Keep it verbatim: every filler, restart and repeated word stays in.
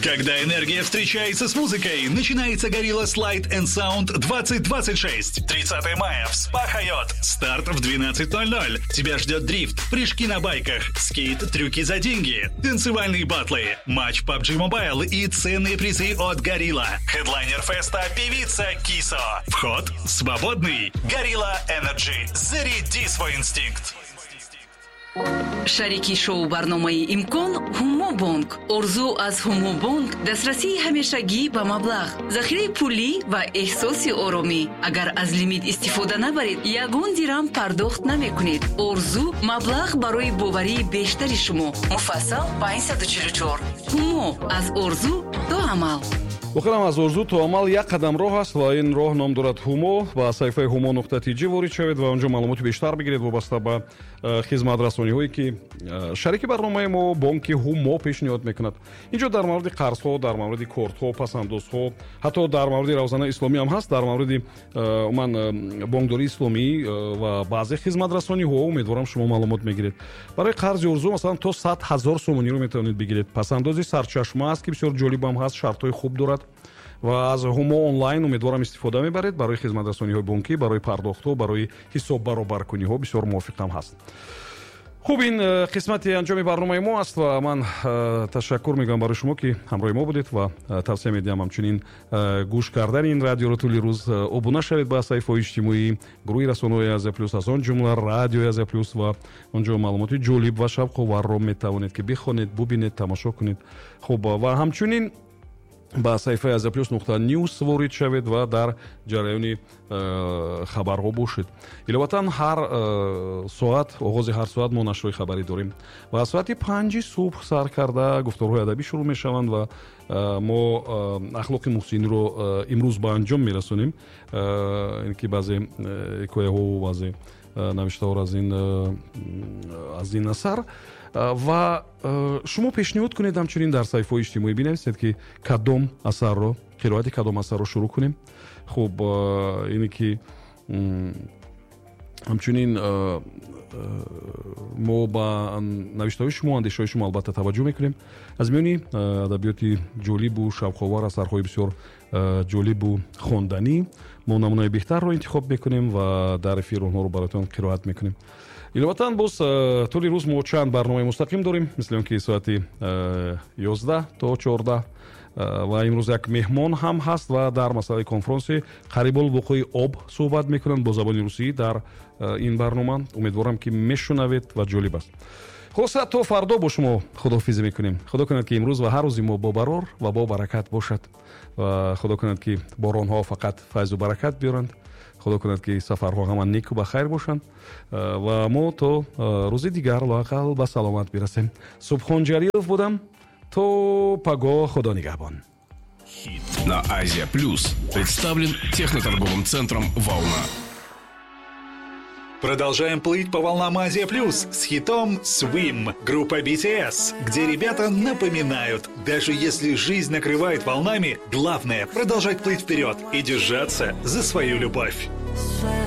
Когда энергия встречается с музыкой, начинается Gorilla Slide and Sound двадцать двадцать шесть. тридцатого мая в Спа Хайот. Старт в двенадцать ноль ноль. Тебя ждет дрифт, прыжки на байках, скейт, трюки за деньги, танцевальные батлы, матч пабг Mobile и ценные призы от Gorilla. Хедлайнер феста певица Кисо. Вход свободный. Gorilla Energy. Заряди свой инстинкт. Шарики шоу барномаи «Имкон» Ҳумобонк. Орзу аз Ҳумобонк дастрасии ҳамешагӣ ба маблағ, захираи пулӣ ва эҳсоси оромӣ. Агар аз лимит истифода набаред, ягон дирам пардохт намекунед. Орзу маблағ барои боварии бештари шумо. Муфассал панҷсаду чилу чор. Ҳумо аз орзу то амал. Воқеан аз орзу то амал як қадам роҳ аст ва ин роҳ ном дорад Ҳумо. Ба саҳифаи ҳумо нуқта тиҷи ворид шавед ва онҷо маълумоти бештар бигиред вобаста ба э, хизматрасониҳое ки э, шарики барномаи мо бонки Ҳумо пешниҳод мекунад. Инҷо дар мавриди қарзҳо, дар мавриди кортҳо, пасандозҳо, ҳатто дар мавриди равзанаи исломӣ ҳам ҳаст, дар мавриди э, умуман бонкдории исломӣ ва баъзе хизматрасониҳо. Умедворам, шумо маълумот мегиред. Барои қарзи орзу масалан то сад ҳазор сомониро метавонед бигиред. Пасандози сарчашма аст, ки бисёр ҷолибам ҳаст, шартҳои хуб дорад ва аз Ҳумо онлайн умедворам истифода мебаред барои хизматрасониҳои бонкӣ, барои пардохтҳо, барои ҳисоббаробаркуниҳо бисёр мувофиқам ҳаст. Хуб, ин э, қисмати анҷоми барномаи мо аст ва ман э, ташаккур мегӯям барои шумо, ки ҳамроҳи мо будед, ва э, тавсия медиҳам ҳамчунин гӯш кардани ин радиоро тӯли рӯз. Обуна шавед ба саҳифаҳои иҷтимоӣ, гурӯҳи расонаҳои Азия Плюс, аз он ҷумла радиои Азия Плюс, ва онҷо маълумоти ҷолиб ва шавқоварро метавонед, ки бихонед, бубинед, тамошо кунед. Хуб, ва ҳамчунин ба саҳифаи Азия Плюс нуқта ньюс ворид шавед ва дар ҷараёни э, хабарҳо бошед. Иловатан, ҳар э, соат, оғози ҳар соат мо нашрҳои хабарӣ дорем ва аз соати панҷи субҳ сар карда гуфторҳои адабӣ шурӯъ мешаванд ва э, мо ахлоқи муҳсиниро имрӯз ба анҷом мерасонем, ин ки баъзе ҳикояҳову баъзе навиштаҳоро аз ин аз ин асар. Ва шумо пешниҳод кунед, ҳамчунин дар саҳифаҳои иҷтимоӣ бинависед, ки кадом асарро, қироати кадом асарро шурӯъ кунем. Хуб, ине ки ҳамчунин мо ба навиштаҳои шумо, андешаҳои шумо албатта таваҷҷӯҳ мекунем. Аз миёни адабиёти ҷолибу шавқовар, асарҳои бисёр ҷолибу хонданӣ мо намунаи беҳтарро интихоб мекунем ва дар эфир онҳоро бароятон қироат мекунем. Иловатан, боз тӯли рӯз мо чанд барномаи мустақим дорем, мисли он ки соати ёздаҳ то чордаҳ, ва имрӯз як меҳмон ҳам ҳаст ва дар масъалаи конфронси қарибулвуқӯи об суҳбат мекунанд бо забони русӣ дар ин барнома. Умедворам, ки мешунавед ва ҷолиб аст. Хулоса, то фардо бо шумо худоҳофизӣ мекунем. Худо кунад, ки имрӯз ва ҳар рӯзи мо бо барор ва бо баракат бошад ва худо кунад, ки боронҳо фақат файзу баракат биёранд. Худо кунад, ки сафарҳо ҳама неку ба хайр бошанд ва мо то рӯзи дигар лоақал ба саломат бирасем. Субҳон Ҷалилов будам. То пагоҳ, худо нигаҳбон. Хит на Азия Плюс представлен техноторговым центром «Волна». Продолжаем плыть по волнам Азия Плюс с хитом Swim группа би ти эс, где ребята напоминают, даже если жизнь накрывает волнами, главное продолжать плыть вперед и держаться за свою любовь. Swim.